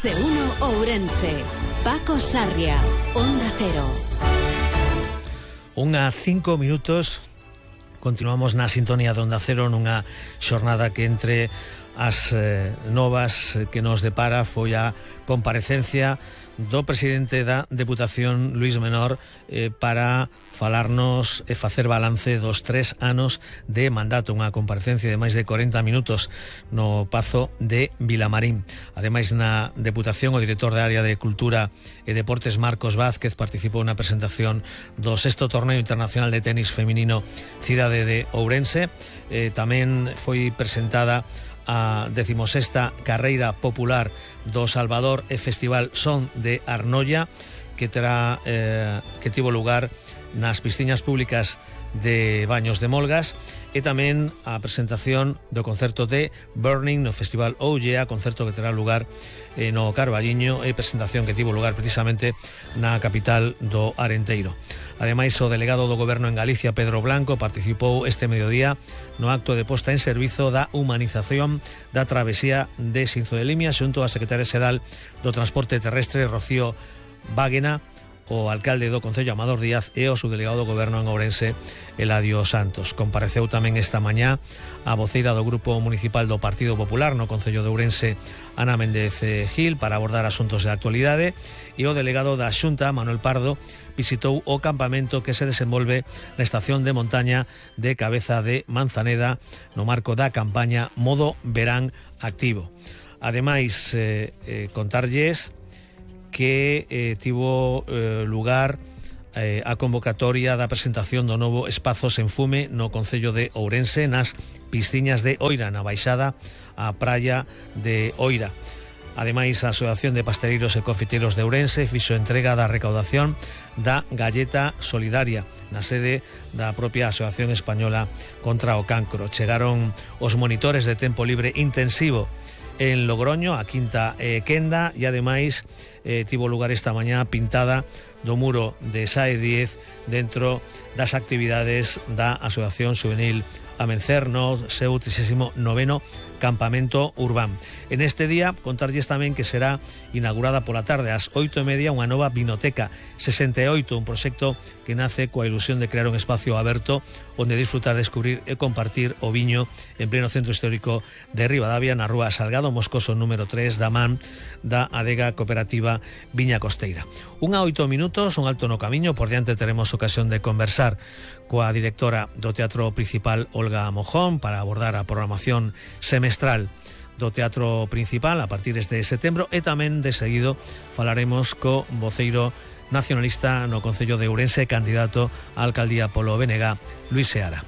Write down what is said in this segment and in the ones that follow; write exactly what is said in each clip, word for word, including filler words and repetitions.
Más de uno Ourense. Paco Sarria, Onda Cero. Unha cinco minutos. Continuamos na sintonía de Onda Cero nunha xornada que entre as eh, novas que nos depara foi a comparecencia do presidente da Deputación, Luís Menor, eh, para falarnos e facer balance dos tres anos de mandato, unha comparecencia de máis de corenta minutos no Pazo de Vilamarín. Ademais, na Deputación, o director da área de Cultura e Deportes, Marcos Vázquez, participou na presentación do sexto torneo internacional de tenis feminino Cidade de Ourense. Eh, tamén foi presentada a decimosexta carreira popular do Salvador e Festival Son de Arnolla, que terá eh, que tivo lugar nas piscinas públicas de Baños de Molgas, e tamén a presentación do concerto de Burning no Festival Ollea, concerto que terá lugar eh, no Carballiño, e presentación que tivo lugar precisamente na capital do Arenteiro. Ademais, o delegado do Goberno en Galicia, Pedro Blanco, participou este mediodía no acto de posta en servizo da humanización da travesía de Sinzo de Limia xunto á secretaria xeral do Transporte Terrestre, Rocío Báguena, o alcalde do Concello, Amador Díaz, e o subdelegado do Goberno en Ourense, Eladio Santos. Compareceu tamén esta mañá a voceira do Grupo Municipal do Partido Popular no Concello de Ourense, Ana Méndez Gil, para abordar asuntos de actualidade, e o delegado da Xunta, Manuel Pardo, visitou o campamento que se desenvolve na estación de montaña de Cabeza de Manzaneda no marco da campaña Modo Verán Activo. Ademais, eh, eh, contarlles que eh, tivo eh, lugar eh, a convocatoria da presentación do novo Espazos en Fume no Concello de Ourense, nas piscinas de Oira, na baixada á praia de Oira. Ademais, a Asociación de Pasteleiros e Confiteros de Ourense fixo entrega da recaudación da galleta solidaria na sede da propia Asociación Española contra o Cancro. Chegaron os monitores de tempo libre intensivo en Logroño, a Quinta e Quenda, e ademais eh, tivo lugar esta mañá pintada do muro de Sae diez dentro das actividades da Asociación Juvenil Amencer no seu trixésimo noveno campamento urbán. En este día, contarlles tamén que será inaugurada pola tarde ás oito e media unha nova vinoteca sesenta e oito, un proxecto que nace coa ilusión de crear un espacio aberto onde disfrutar, descubrir e compartir o viño en pleno centro histórico de Ribadavia, na rúa Salgado Moscoso número tres da man da adega cooperativa Viña Costeira. Unha oito minutos, un alto no camiño. Por diante teremos ocasión de conversar coa directora do Teatro Principal, Olga Mojón, para abordar a programación semestral do Teatro Principal a partir de setembro, e tamén de seguido falaremos co voceiro nacionalista no Concello de Ourense, candidato á alcaldía polo B N G, Luís Seara.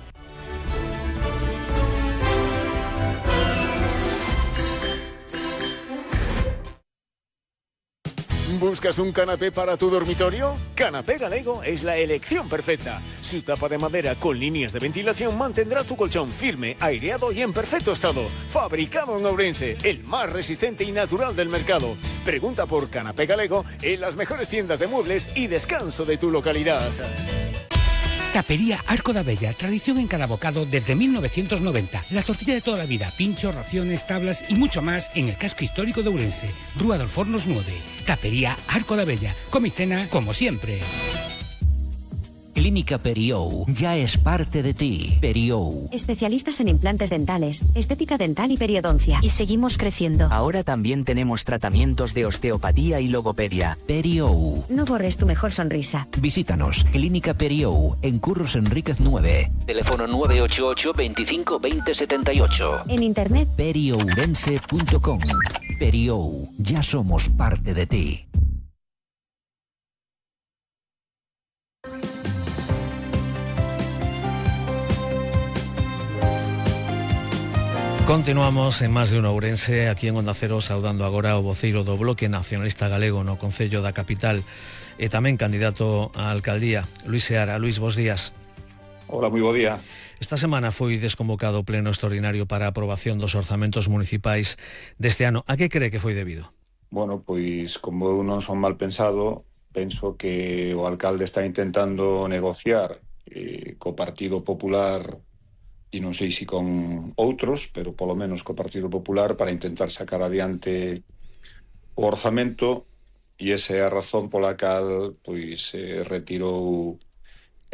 ¿Buscas un canapé para tu dormitorio? Canapé Galego es la elección perfecta. Su tapa de madera con líneas de ventilación mantendrá tu colchón firme, aireado y en perfecto estado. Fabricado en Ourense, el más resistente y natural del mercado. Pregunta por Canapé Galego en las mejores tiendas de muebles y descanso de tu localidad. Tapería Arco da Bella, tradición en cada bocado desde mil novecientos noventa. La tortilla de toda la vida, pinchos, raciones, tablas y mucho más en el casco histórico de Ourense. Rúa dos Fornos nueve. Tapería Arco da Bella. Come y cena como siempre. Clínica Periou ya es parte de ti. Periou. Especialistas en implantes dentales, estética dental y periodoncia. Y seguimos creciendo. Ahora también tenemos tratamientos de osteopatía y logopedia. Periou. No borres tu mejor sonrisa. Visítanos. Clínica Periou, en Curros Enríquez nueve. Teléfono nueve ocho ocho, veinticinco, veinte, setenta y ocho. En internet periourense punto com. Periou. Ya somos parte de ti. Continuamos en Más de un Ourense, aquí en Onda Cero, saudando agora o voceiro do Bloque Nacionalista Galego no Concello da Capital e tamén candidato á alcaldía, Luís Seara. Luís, bos días. Hola, moi bo día. Esta semana foi desconvocado o pleno extraordinario para a aprobación dos orzamentos municipais deste ano. A que cree que foi debido? Bueno, pois, como eu non son mal pensado, penso que o alcalde está intentando negociar eh, co Partido Popular, e non sei se con outros, pero polo menos co Partido Popular, para intentar sacar adiante o orzamento, e esa é a razón pola cal pois eh, retirou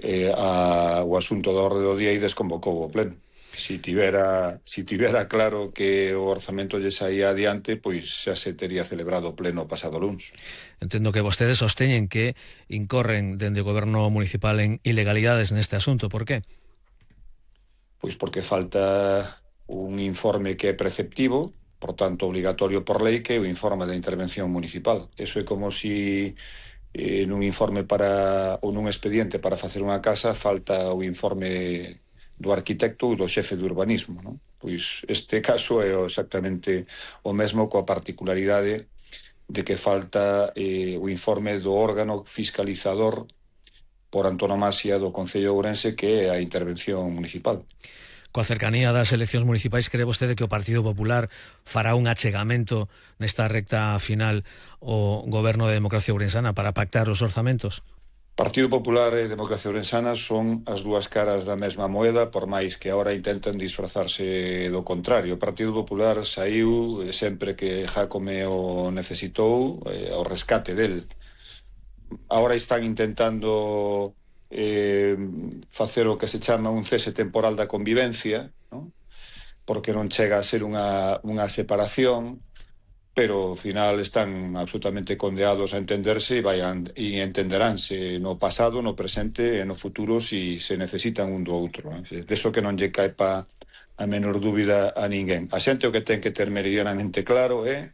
eh, a, o asunto da orde do día e desconvocou o pleno. Si tivera, si tivera claro que o orzamento lle saía adiante, pois xa se tería celebrado o pleno pasado luns. Entendo que vostedes sosteñen que incorren dende o goberno municipal en ilegalidades neste asunto. Por qué? Pois porque falta un informe que é preceptivo, por tanto obligatorio por lei, que é o informe da intervención municipal. Eso é como si eh, nun informe para ou nun expediente para facer unha casa falta o informe do arquitecto ou do xefe de urbanismo, non? Pois este caso é exactamente o mesmo, coa particularidade de que falta eh, o informe do órgano fiscalizador por antonomasia do Concello de Ourense, que é a intervención municipal. Coa cercanía das eleccións municipais, cree vostede que o Partido Popular fará un achegamento nesta recta final ao goberno de Democracia Ourensana para pactar os orzamentos? Partido Popular e Democracia Ourensana son as dúas caras da mesma moeda, por máis que agora intenten disfrazarse do contrario. O Partido Popular saiu sempre que Jácome o necesitou eh, ao rescate del. Agora están intentando eh, facer o que se chama un cese temporal da convivencia, ¿no? Porque non chega a ser unha, unha separación, pero ao final están absolutamente condeados a entenderse e, vayan, e entenderánse no pasado, no presente e no futuro si se necesitan un do outro. ¿eh? De eso que non lle cae pa a menor dúbida a ninguén. A xente o que ten que ter meridianamente claro é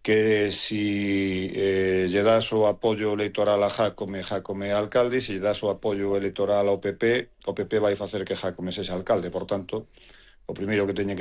que si eh, lle das o apoio electoral a Jácome, Jácome é alcalde, e se lle das o apoio electoral ao P P, o P P vai facer que Jácome sexa alcalde. Por tanto, o primeiro que teñen que